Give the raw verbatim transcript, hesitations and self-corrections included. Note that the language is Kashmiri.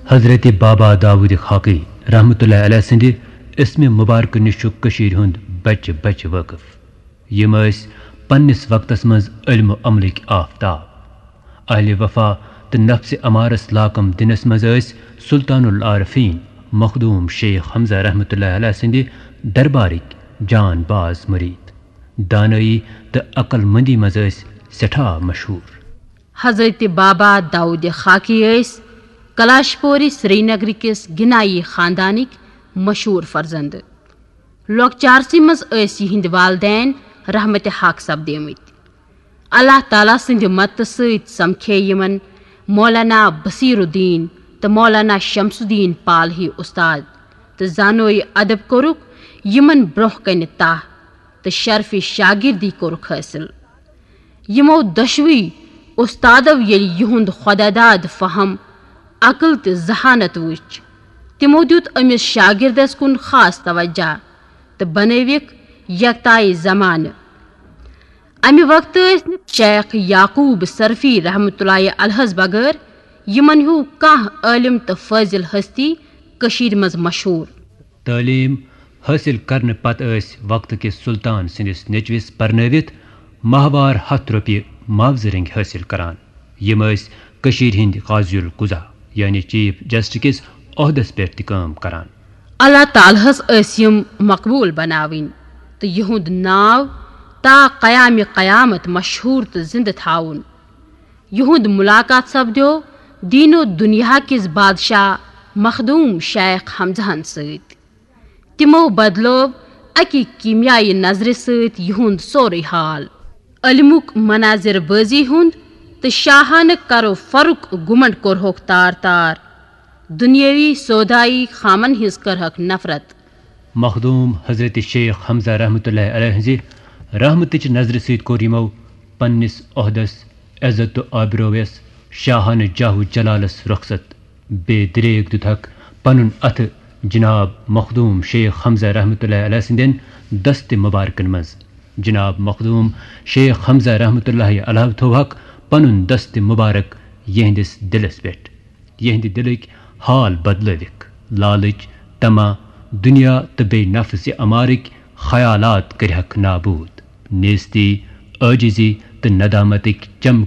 حضرت بابا داؤد خاکی رحمتہ اللہ علیہ سٕنٛدِ اسمِ مبارکہٕ نِش چھُ کٔشیٖرِ ہُنٛد بچہِ بچہِ وٲقف۔ یِم ٲسۍ پننِس وقتس منٛز علم و عملٕکۍ آفتاب۔ اہلِ وفا تہٕ نفسِ امارس لاکم دِنس منٛز ٲسۍ سلطان العارفین مخدوم شیخ حمزہ رحمتہ اللہ علیہ سٕنٛدِ دربارٕکۍ جان باز مُریٖد۔ دانٲیی تہٕ عقل مندی منٛز ٲسۍ سٮ۪ٹھاہ مشہوٗر۔ حضرت بابا داؤد خاکی ٲسۍ کلاشپوری سرینگرٕ کِس گنایی خاندانٕکۍ مشہوٗر فرزند۔ لۄکچارسٕے منٛز ٲسۍ یِہنٛدۍ والدین رحمتِ حق سپدیمٕتۍ۔ اللہ تعالیٰ سٕنٛدِ مدتہٕ سۭتۍ سمکھے یِمن مولانا بصیر الدین تہٕ مولانا شمس الدین پال ہی استاد تہٕ زانوے ادب کوٚرُکھ یِمن برونٛہہ کنہِ تاہ تہٕ شرفِ شاگردی کوٚرُکھ حٲصِل۔ یِمو دۄشوٕے اُستادو ییٚلہِ یِہُنٛد خۄداداد فہم، عقل تہٕ ذہانت وُچھ، تِمو دیُت أمِس شاگردس کُن خاص توجہ تہٕ بنٲوِکھ یکتائے زمانہٕ۔ امہِ وقتہٕ ٲسۍ نہٕ شیخ یعقوب صرفی رحمتہ اللہ علیہس بغٲر یِمن ہیوٗ کانٛہہ عٲلم تہٕ فٲضل ہستی کٔشیٖرِ منٛز مشہوٗر۔ تعلیٖم حٲصِل کرنہٕ پتہٕ ٲسۍ وقتہٕ کِس سلطان سٕنٛدِس نیٚچوِس پرنٲوِتھ ماہوار ہتھ رۄپیہِ معاوضہٕ رٔنٛگۍ حٲصِل کران۔ یِم ٲسۍ کٔشیٖرِ ہٕنٛدۍ قاضی القضا، یعنی چیف جسٹس کِس عہدس پٮ۪ٹھ تہِ کٲم کران۔ اللہ تعالیٰ ہس ٲسۍ یِم مقبوٗل بناوٕنۍ تہٕ یِہُنٛد ناو تا قیامِ قیامت مشہوٗر تہٕ زِنٛدٕ تھاوُن۔ یِہُنٛد مُلاقات سپدیو دیٖن و دُنیا کِس بادشاہ مخدوٗم شیخ حمزہن سۭتۍ۔ تِمو بدلوو اَکہِ کیٖمیایہِ نظرِ سۭتۍ یِہُنٛد سورُے حال۔ علمُک مناظر بٲزی ہُنٛد تہٕ شاہانہٕ کرو فرُک گُمنڈ کوٚرہوکھ تار تار۔ دُنیٲوی سودایی خامن ہٕنٛز کٔرہکھ نفرت۔ مخدوٗم حضرت شیخ حمزہ رحمتہ اللہ علیہ ہٕنٛزِ رحمتٕچ نظرِ سۭتۍ کوٚر یِمو پننِس عہدس، عزت تہٕ آبرویس، شاہانہٕ جاہ و جلالس رخصت۔ بے دریگ دیُتہکھ پنُن اتھٕ جناب مخدوٗم شیخ حمزہ رحمتہ اللہ علیہ سٕنٛدٮ۪ن دستِ مبارکن منٛز۔ جناب مخدوٗم شیخ حمزہ رحمتہ اللہ علیہ تھووہکھ پنُن دستِ مبارک یِہنٛدِس دِلس پٮ۪ٹھ۔ یِہنٛدِ دِلٕکۍ حال بدلٲوِکھ۔ لالٕچ، طمع، دُنیا تہٕ بیٚیہِ نفسِ امارٕکۍ خیالات کٔرِہکھ نابوٗد۔ نیستی، عٲجزی تہٕ ندامتٕکۍ چم